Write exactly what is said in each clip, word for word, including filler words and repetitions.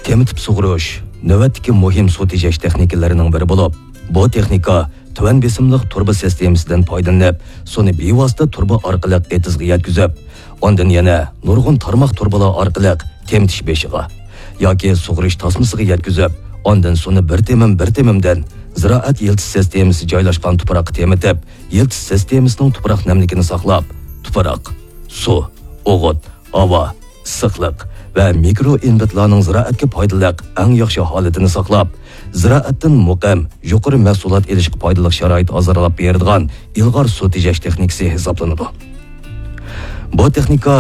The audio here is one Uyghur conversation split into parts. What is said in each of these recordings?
تېمىتىپ سۇغۇرۇش نۆۋەتتىكى مۇھىم سۇ تېجەش تېخنىكىلىرىنىڭ بىرى بولۇپ، بۇ تېخنىكا تۆۋەن بېسىملىق تۇرۇبا سىستېمىسىدىن پايدىلىنىپ، سۇنى بىۋاسىتە تۇرۇبا ئارقىلىق ئېتىزغا يەتكۈزۈپ، ئاندىن يەنە نۇرغۇن تارماق تۇرۇبىلار ئارقىلىق تېمىتىش بېشىغا ياكى سۇغۇرۇش تاسمىسىغا يەتكۈزۈپ، ئاندىن سۇنى بىر تېمىم بىر تېمىمدىن زىرائەت يىلتىز سىستېمىسى جايلاشقان تۇپراققا تېمىتىپ، يىلتىز سىستېمىسىنىڭ تۇپراق نەملىكىنى ساقلاپ، تۇپراق، سۇ، ئوغۇت، ھاۋا، ئىسسىقلىق ۋە مىكرو ئېلېمېنتلارنىڭ زىرائەتكە پايدىلىق ئەڭ ياخشى ھالىتىنى ساقلاپ، زىرائەتتىن مۇقىم، يۇقىرى مەھسۇلات ئېلىشقا پايدىلىق شارائىت ھازىرلاپ بېرىدىغان ئىلغار سۇ تېجەش تېخنىكىسى ھېسابلىنىدۇ. بۇ تېخنىكا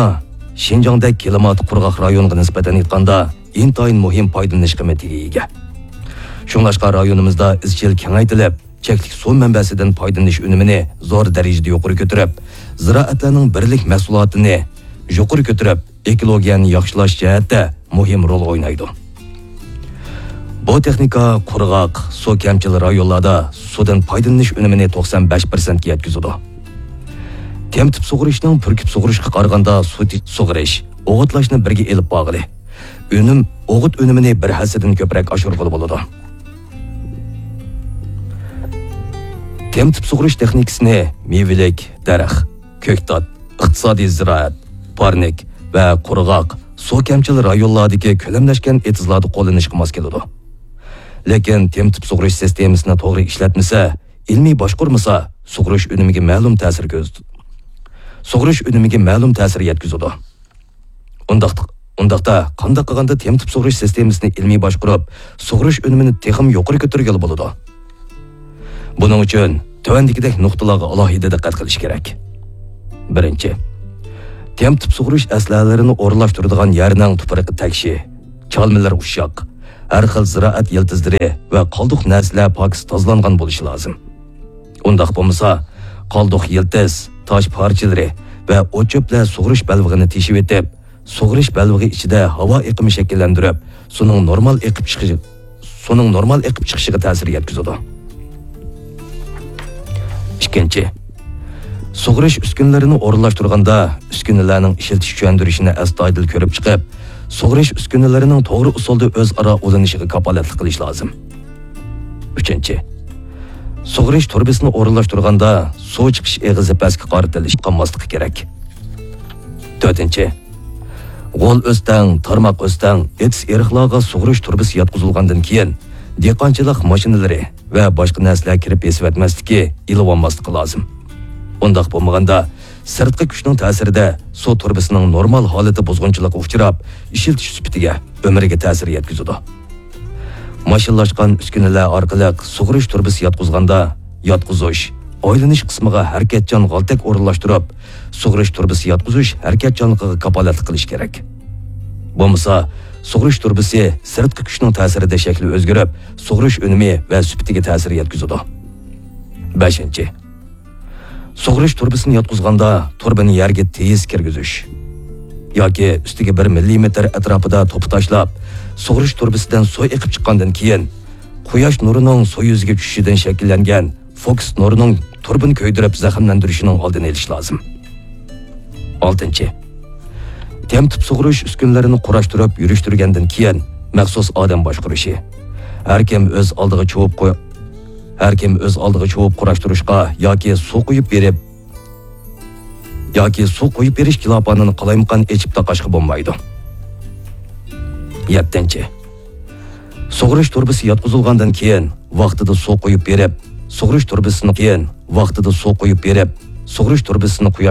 شىنجاڭدەك كىلىماتى قۇرغاق رايونغا نىسبەتەن ئېيتقاندا، ئىنتايىن مۇھىم پايدىلىنىش قىممىتىگە ئىگە. شۇڭلاشقا رايونىمىزدا ئىزچىل كېڭەيتىلىپ، چەكلىك سۇ مەنبەسىدىن پايدىلىنىش ئۈنۈمىنى زور دەرىجىدە يۇقىرى كۆتۈرۈپ، زىرائەتلەرنىڭ بىرلىك مەھسۇلاتىنى يۇقىرى كۆتۈرۈپ، ئېكولوگىيەنى ياخشىلاش جەھەتتە مۇھىم رول ئوينايدۇ. بۇ تېخنىكا قۇرغاق، سۇ كەمچىل رايونلاردا سۇدىن پايدىلىنىش ئۈنۈمىنى توقسان بەش پىرسەنتكە يەتكۈزىدۇ. تېمىتىپ سۇغۇرۇشنىڭ پۈركۈپ سۇغۇرۇشقا قارىغاندا سۇ تى-، سۇغۇرۇش، ئوغۇتلاشنى بىرگە ئېلىپ بارغىلى، ئۈنۈم، ئوغۇت ئۈنۈمىنى بىر ھەسسىدىن كۆپرەك ئاشۇرغىلى بولىدۇ. تېمىتىپ سۇغۇرۇش تېخنىكىسىنى مېۋىلىك، دەرەخ، كۆكتات، ئىقتىسادىي زىرائەت، پارنىك ۋە قۇرغاق، سۇ كەمچىل رايونلاردىكى كۆلەملەشكەن ئېتىزلاردا قوللىنىشقا ماس كېلىدۇ. لېكىن تېمىتىپ سۇغۇرۇش سىستېمىسىنى توغرا ئىشلەتمىسە، ئىلمىي باشقۇرمىسا، سۇغۇرۇش ئۈنۈمىگە مەلۇم تەسىر كۆرسىتىدۇ. سۇغۇرۇش ئۈنۈمىگە مەلۇم تەسىر يەتكۈزىدۇ. ئۇنداق، ئۇنداقتا قانداق قىلغاندا تېمىتىپ سۇغۇرۇش سىستېمىسىنى ئىلمىي باشقۇرۇپ، سۇغۇرۇش ئۈنۈمىنى تېخىمۇ يۇقىرى كۆتۈرگىلى بولىدۇ؟ بۇنىڭ ئۈچۈن تۆۋەندىكىدەك نۇقتىلارغا ئالاھىدە دىققەت قىلىش كېرەك. بىرىنچى، تېمىتىپ سۇغۇرۇش ئەسلىھەلىرىنى ئورۇنلاشتۇرىدىغان يەرنىڭ تۇپرىقى تەكشى، چالمىلىرى ئۇششاق، ھەر خىل زىرائەت يىلتىزلىرى ۋە قالدۇق نەرسىلەر پاكىز تازىلانغان بولۇشى لازىم. ئۇنداق بولمىسا، قالدۇق يىلتىز، تاش پارچىلىرى ۋە ئوت-چۆپلەر سۇغۇرۇش بەلبېغىنى تېشىۋېتىپ، سۇغۇرۇش بەلبېغى ئىچىدە ھاۋا ئېقىمى شەكىللەندۈرۈپ، سۇنىڭ نورمال ئېقىپ چىقىشى، سۇنىڭ نورمال ئېقىپ چىقىشىغا تەسىر يەتكۈزىدۇ. ئىككىنچى، سۇغۇرۇش ئۈسكۈنىلىرىنى ئورۇنلاشتۇرغاندا، ئۈسكۈنىلەرنىڭ ئىشلىتىش چۈشەندۈرۈشىنى ئەستايىدىل كۆرۈپ چىقىپ، سۇغۇرۇش ئۈسكۈنىلىرىنىڭ توغرا ئۇسۇلدا ئۆزئارا ئۇلىنىشىغا كاپالەتلىك قىلىش لازىم. ئۈچىنچى، سۇغىرىش تۇرۇبىسىنى ئورۇنلاشتۇرغاندا سۇ چىقىش ئېغىزى پەسكە قارىتىلىش قىلماسلىقى كېرەك. تۆتىنچى، غول ئۆستەڭ، تارماق ئۆستەڭ، ئېتىز-ئېرىقلارغا سۇغىرىش تۇرۇبىسى ياتقۇزۇلغاندىن كېيىن، دېھقانچىلىق ماشىنىلىرى ۋە باشقا نەرسىلەر كىرىپ بېسىۋەتمەسلىكى، ئېلىۋالماسلىقى لازىم. ئۇنداق بولمىغاندا، سىرتقى كۈچنىڭ تەسىرىدە سۇ تۇرۇبىسىنىڭ نورمال ھالىتى بۇزغۇنچىلىققا ئۇچراپ، ئىشلىتىش سۈپىتىگە، ئۆمرىگە تەسىر يەتكۈزىدۇ. ماشىنىلاشقان ئۈسكۈنىلەر ئارقىلىق سۇغىرىش تۇرۇبىسى ياتقۇزغاندا، ياتقۇزۇش، ئايلىنىش قىسمىغا ھەرىكەتچان غالتەك ئورۇنلاشتۇرۇپ، سۇغىرىش تۇرۇبىسى ياتقۇزۇش ھەرىكەتچانلىقىغا كاپالەتلىك قىلىش كېرەك. بولمىسا، سۇغىرىش تۇرۇبىسى سىرتقى كۈچنىڭ تەسىرىدە شەكلى ئۆزگىرىپ، سۇغىرىش ئۈنۈمى ۋە سۈپىتىگە تەسىر يەتكۈزىدۇ. بەشىنچى، سۇغىرىش تۇرۇبىسىنى ياتقۇزغاندا تۇرۇبىنى يەرگە تېيىز كىرگۈزۈش ياكى ئۈستىگە بىر مىللىمېتىر ئەتراپىدا توپا تاشلاپ، سۇغىرىش تۇرۇبىسىدىن سۇ ئېقىپ چىققاندىن كېيىن، قۇياش نۇرىنىڭ سۇ يۈزىگە چۈشۈشىدىن شەكىللەنگەن فوكۇس نۇرىنىڭ تۇرۇبىنى كۆيدۈرۈپ زەخىملەندۈرۈشىنىڭ ئالدىنى ئېلىش لازىم. ئالتىنچى، تېمىتىپ سۇغىرىش ئۈسكۈنىلىرىنى قۇراشتۇرۇپ يۈرۈشتۈرگەندىن كېيىن، مەخسۇس ئادەم باشقۇرۇشى. ھەر كىم ئۆز ئالدىغا چۇۋۇپ قوي-، ھەر كىم ئۆز ئالدىغا چۇۋۇپ قۇراشتۇرۇشقا ياكى سۇ قۇيۇپ بېرىپ، ياكى سۇ قۇيۇپ بېرىش كىلاپانىنى قالايمىقان ئېچىپ تاقاشقا بولمايدۇ. يەتتىنچى، سۇغىرىش تۇرۇبىسى ياتقۇزۇلغاندىن كېيىن، ۋاقتىدا سۇ قۇيۇپ بېرىپ، سۇغىرىش تۇرۇبىسىنى كېيىن، ۋاقتىدا سۇ قۇيۇپ بېرىپ، سۇغىرىش تۇرۇبىسىنى قۇياش